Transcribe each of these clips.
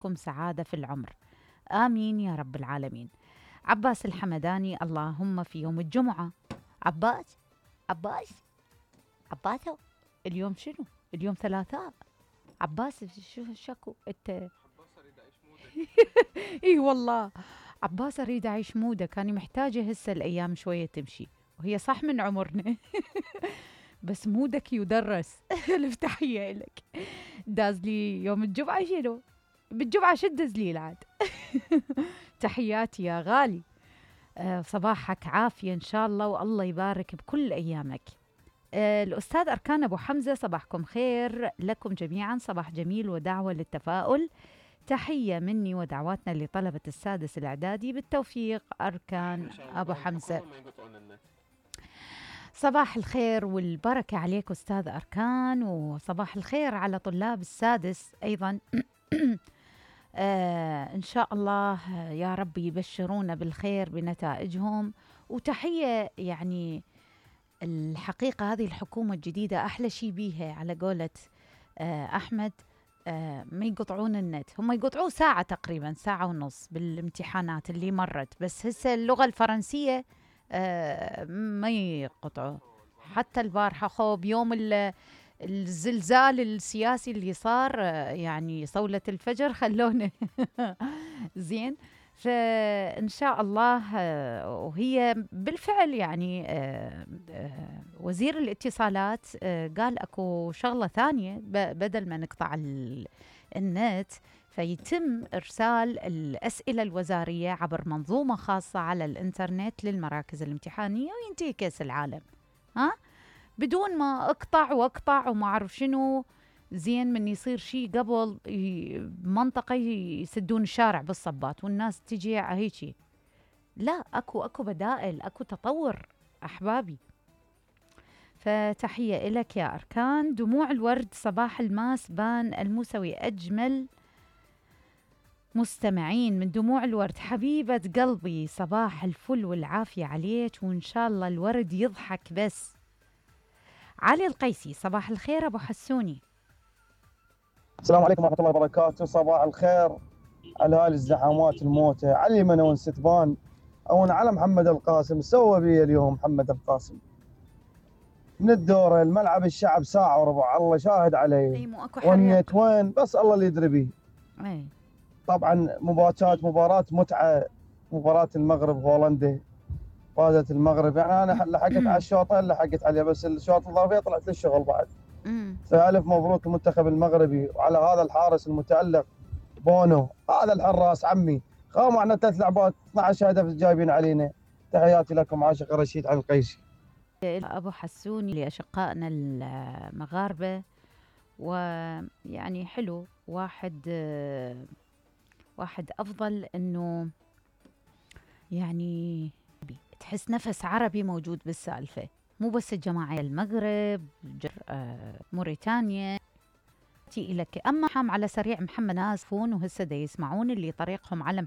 لكم سعادة في العمر. آمين يا رب العالمين. عباس الحمداني. اللهم في يوم الجمعة. عباس عباس عباسو، اليوم شنو؟ اليوم ثلاثاء. عباس شو شكو انت؟ عباس اريد اعيش مودك. اي والله، عباس اريد اعيش مودك. انا محتاجة هسه الايام شوية تمشي، وهي صح من عمرنا بس مودك يدرس الف تحية لك. دازلي يوم الجمعة شنو؟ بالجمعة شو تدزلي العاد؟ تحياتي يا غالي. صباحك عافية إن شاء الله، والله يبارك بكل أيامك. الأستاذ أركان أبو حمزة، صباحكم خير لكم جميعا، صباح جميل ودعوة للتفاؤل. تحية مني ودعواتنا لطلبة السادس الإعدادي بالتوفيق. أركان أبو حمزة، صباح الخير والبركة عليك أستاذ أركان، وصباح الخير على طلاب السادس أيضا. إن شاء الله يا رب يبشرونا بالخير بنتائجهم. وتحية يعني الحقيقة هذه الحكومة الجديدة أحلى شيء بيها على قولة أحمد، ما يقطعون النت. هم يقطعوه ساعة تقريبا، ساعة ونص بالامتحانات اللي مرت، بس هسه اللغة الفرنسية ما يقطعوا. حتى البارحة خو بيوم الزلزال السياسي اللي صار، يعني صولة الفجر خلونا زين. فإن شاء الله وهي بالفعل يعني وزير الاتصالات قال أكو شغلة ثانية، بدل ما نقطع النت فيتم إرسال الأسئلة الوزارية عبر منظومة خاصة على الإنترنت للمراكز الامتحانية، وينتهي كأس العالم ها بدون ما اقطع واقطع وما اعرف شنو. زين من يصير شيء قبل منطقة يسدون الشارع بالصبات والناس تجي هيجي. لا، اكو بدائل، اكو تطور احبابي. فتحية إلك يا أركان. دموع الورد، صباح الماس بان الموسوي، أجمل مستمعين من دموع الورد. حبيبة قلبي، صباح الفل والعافية عليك، وإن شاء الله الورد يضحك بس. علي القيسي، صباح الخير أبو حسوني. السلام عليكم ورحمة الله وبركاته. صباح الخير على هاي الزحامات الموتى، علي منون ستبان أو على محمد القاسم. سوى بي اليوم محمد القاسم من الدورة الملعب الشعب ساعة وربع، الله شاهد علي. أي مو أكو والنيت حريق. وين بس الله اللي يدري بيه. أي طبعا مباراة متعة، مباراة المغرب هولندا، فازت المغرب. يعني أنا لحقت على الشوطين، لحقت عليه، بس الشوط الإضافية طلعت للشغل بعد. فألف مبروك المنتخب المغربي، وعلى هذا الحارس المتألق بونو، هذا الحراس عمي. معنا 3 لعبات 12 هدف جايبين علينا. تحياتي لكم، عاشق رشيد على القيسي. أبو حسوني لأشقائنا المغاربة. ويعني حلو واحد أفضل إنه يعني تحس نفس عربي موجود بالسالفة، مو بس الجماعة المغرب، موريتانيا تي لك. أما حام على سريع محمد ناسفون وهسه دا يسمعون اللي طريقهم على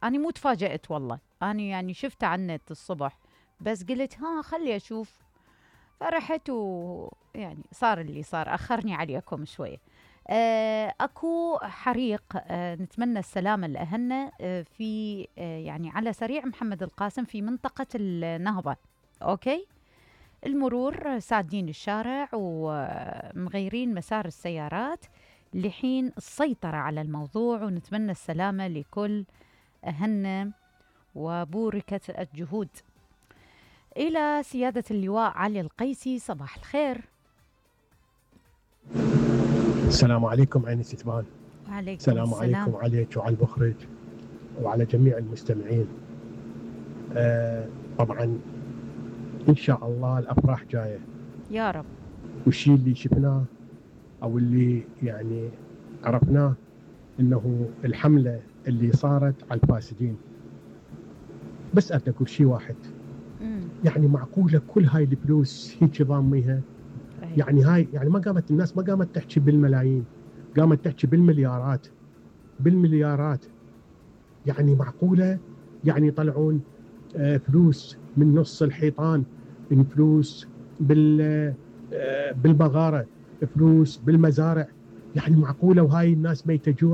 أنا مو تفاجأت والله، أنا يعني شفت على النت الصبح بس قلت ها خلي أشوف، فرحت ويعني صار اللي صار، أخرني عليكم شوية. أكو حريق، نتمنى السلامة لأهلنا في يعني على سريع محمد القاسم في منطقة النهضة. أوكي، المرور سادين الشارع ومغيرين مسار السيارات لحين السيطرة على الموضوع، ونتمنى السلامة لكل أهلنا وبوركت الجهود. إلى سيادة اللواء علي القيسي، صباح الخير. السلام عليكم عيني ستبان. وعليكم السلام عليكم عليك وعلى المخرج وعلى جميع المستمعين. طبعا إن شاء الله الأفراح جاية يا رب. والشيء اللي شفناه أو اللي يعني عرفناه إنه الحملة اللي صارت على الفاسدين، بس أنا أقول شيء واحد. يعني معقولة كل هاي الفلوس هيك ضاميها؟ يعني هاي يعني ما قامت الناس، ما قامت تحكي بالملايين، قامت تحكي بالمليارات. يعني معقولة يعني يطلعون فلوس من نص الحيطان، من فلوس بالمغارة، فلوس بالمزارع، يعني معقوله وهاي الناس ميته جوع؟